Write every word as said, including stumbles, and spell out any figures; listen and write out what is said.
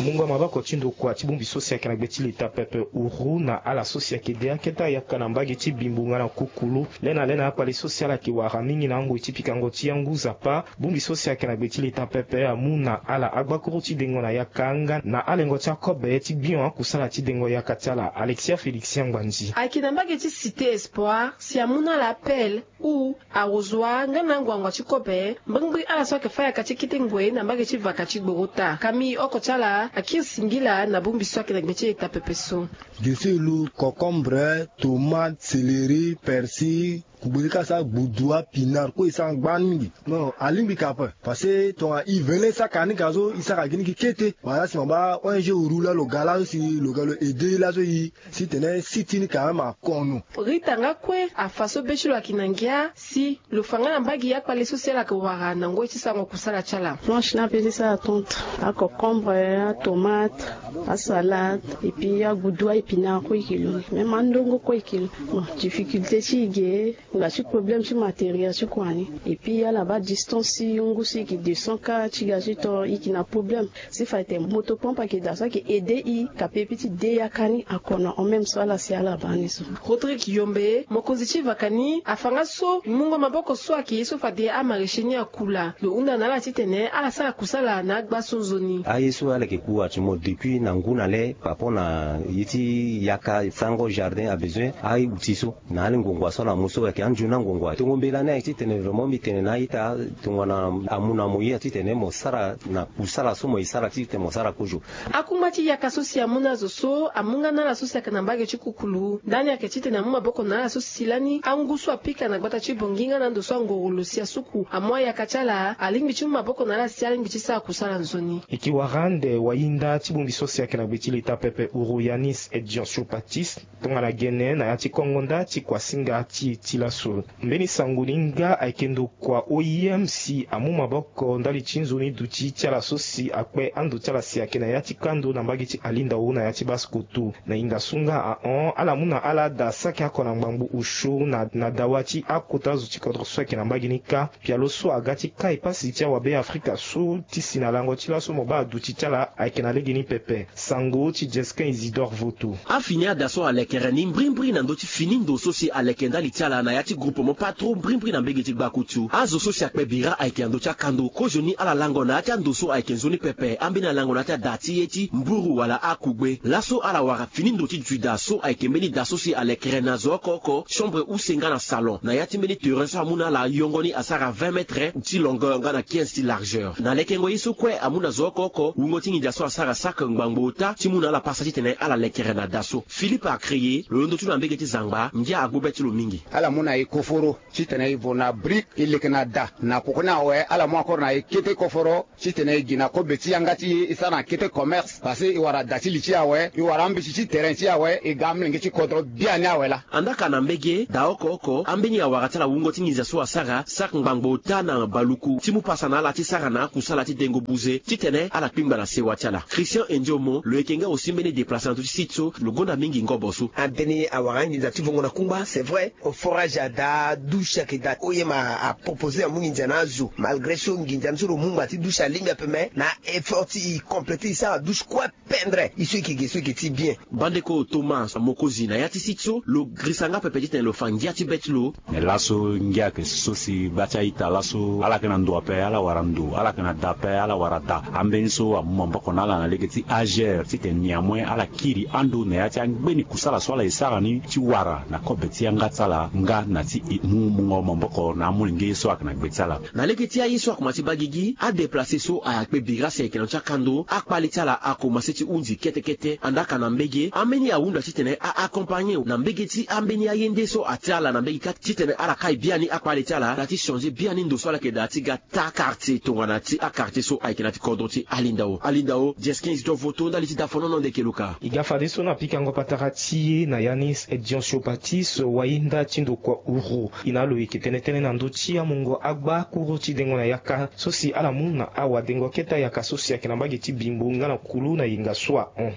Mungo maboko ti ndokua ti bongbi so si ayeke na gbe ti leta pepe uru na ala so si ayeke de akete ayaka na mbage ti bimbo nga na kukulu. Lena lena akpale so si ala yeke wara mingi na angoi ti pikango ti angu zapa. Bongbi so si ayeke na gbe ti leta pepe amu na ala agbakuru ti dengo na yaka nga na alengo ti akobe ti bion akusala ti dengo yaka ti ala. Alexia Félixien Ngbandi. Ayeke na mbage ti Cité Espoir si amu na ala appel ou arrosoir nga na anguangu ti kobe mbirimbiri ala so ayeke fâ yaka ti kete ngoi na mbage ti vaka ti gboro ota. Kami oko ti ala akiri singila na bongbi so ayeke na gbe ti eta pepe so. Deselu, concombre, tomate, céleri, persil, kugbe ni ka sa gbudua, pinard kue e sa ngba ni mingi. Non, alingbi ka ape. Parce que tongana e vele saka ni ka so e saka gi ni gi kete. Wala si ma ba O N G uru la lo ga laso si lo ga lo aide laso e si tene site ni ka même akono. Rita nga kue afa so be ti lo ayeke na ngia si lo fa nga na mbage akpale so si ala yeke wara na ngoi ti sarango kusala ti ala. Blanche na be ti sara tonte, aconcombre, atomate, asalade, et puis agudu, aépinard kue e yeke lo ni, même andongo kue e yeke lo. Bon, difficulté ti e ge nga ti problème ti matériel ti kua ni. Et puis ala baa distance ti ngu so e yeke deux cents ka ti ga ti to e yeke na problème. Si fa ete moto pompe ayeke daa so ayeke aide e kape e peut ti de yaka ni akono en même so ala si ala baa ni so. Rodrigue Yombe, mokonzi ti vaka ni, afa nga so mungo maboko so ayeke ye so fade amaraîcher ni akula. Lo hunda na ala titene ala sara kusala na agba so nzoni. Aye so ala yeke ku ati mo depuis na ngu na le par rapport na ye ti yaka sango jardin a besoin aye outil so. Na ali ngongua so ala mu so ayeke anzoni angongua tongo mbela ni ayeke titene vraiment mbi tene na a-ita tongana amu na mo ye titene mo sara na kusala so mo ye sara titene mo sara kozo. Akungba ti yaka so si amu na azo so amu nga na ala so si ayeke na mbage ti kukulu ndani ayeke titene amu maboko na ala so si lani angu so apika na gbata ti bongi nga na ando so angoro lo si asuku amu ayaka ti ala alingbi ti mu maboko na ala si alingbi ti sara kusala nzoni. E ke wara ande wayinda ti bongbi so si ayeke na gbe ti leta pepe uru Yanis Edion Sopatis tongana gene na ya ti kongo nda ti kuasinga ti e ti laso. Mbeni sango ni nga ayeke ndokua O I M si amu maboko ndali ti nzoni duti ti ala so si akpe ando ti ala si ayeke na ya ti kando na mbage ti Alindao na ya ti Basse-Kotto. Na hinga so nga ahon ala mu na ala ada saki oko na ngbangbo osio na na dawa ti akota zo ti kodro so ayeke na mbage ni kâ. Pialo so aga ti kai pasi ti awabe Afrika so ti si na lango ti laso mo baa aduti ti ala ayeke na lege ni pepe. Sango ti Jesquin Isidore Voto. Afini ada so alekere ni mbrimbri na ndö ti fini ndo so si aleke ndali ti ala na ya ti groupement patro mbrimbri na mbege ti gbakutu. Azo so si akpe bira ayeke na ndö ti akando kozoni ala lango na ya ti ando so ayeke nzoni pepe ambeni alango na ya ti ada ti ye ti mburu wala akugbe. Laso ala wara fini ndo ti duida so ayeke mbeni da so si alekere na zo oko oko chambre use nga na salon na ya ti mbeni terrain so amu na ala yongo ni asara vingt mètres ti longueur nga na quinze ti largeur. Na lekengo ye so kue amu na zo oko oko wungo ti nginza so asara sake ngbangbo ota ti mu na ala pasa titene ala lekere na da so. Philippe Acreye lo londo ti lo na mbege ti zangba ngia agbu be ti lo mingi. Ala mu na e koforo titene e vo na brique e leke na da na koko ni awe ala mu encore na e kete koforo titene e gi na kobe ti yanga ti e e sara na kete commerce parce que e wara da ti li ti e awe e wara ambeti ti terrain ti e awe e ga amolenge ti kodro biani awe laa. Andaa ka na mbege daa oko oko ambeni awara ti ala wungo ti nginza so asara sara ngbangbo ota na baluku ti mu pasa na ala ti sara na akusala ti dengo buze titene ala kpingba na sewa ti ala. Christian Endiomo lo yeke nga aussi mbeni déplace na ndö ti site so lo gonda mingi ngobo so. Ambeni awara anginza ti vongo na kungba c'est vrai. Au forage ada douche ayeke daa oye ma apropose amu nginza na azo malgré so nginza ni so lo mu ngba ti douche alingbi ape mais na effort ti e compléter e sara douche kue pendre e so e yeke ge so e yeke ti bien. Bandeko Thomas Mokozi na ya ti site so lo girisa nga pepe titene lo fa ngia ti be ti lo. Mais laso ngia ayeke so si gba ti a-ita laso ala yeke na ndo ape ala wara ndo ala yeke na da ape ala wara da. Ambeni so amu maboko na ala na lege ti ager titene néanmoins ala kiri ando na ya ti angbeni kusala so ala e sara ni ti wara na kobe ti yanga ti ala nga na ti e mu mungo maboko na amolenge ye so ayeke na gbe ti ala. Na lege ti aye so akoma ti baa gigi adéplace so ayakpe bira si ayeke na ndö ti akando akpale ti ala akomase ti hunzi kete kete andaa ka na mbege ambeni ahunda titene a-accompagner na mbege ti ambeni aye nde so atia ala na mbege kâ titene ala kai biani akpale ti ala na ti changer biani ndo so ala yeke daa ti ga taa quartier tongana ti aquartier so ayeke na ti kodro ti Alindao. Alindao Jesquin Isidore Voto ndali ti dafonono ndeke luka. E ga fadeso na pikango patara ti e na Yanis Edion Siopatis wayinda ti ndokua uru. E na lo e yeke tene tënë na ndö ti amungo agbakuru ti dengo na yaka so si ala mu na awadengo kete ayaka so si ayeke na mbage ti bimbo nga na kulu na yenga so ahon.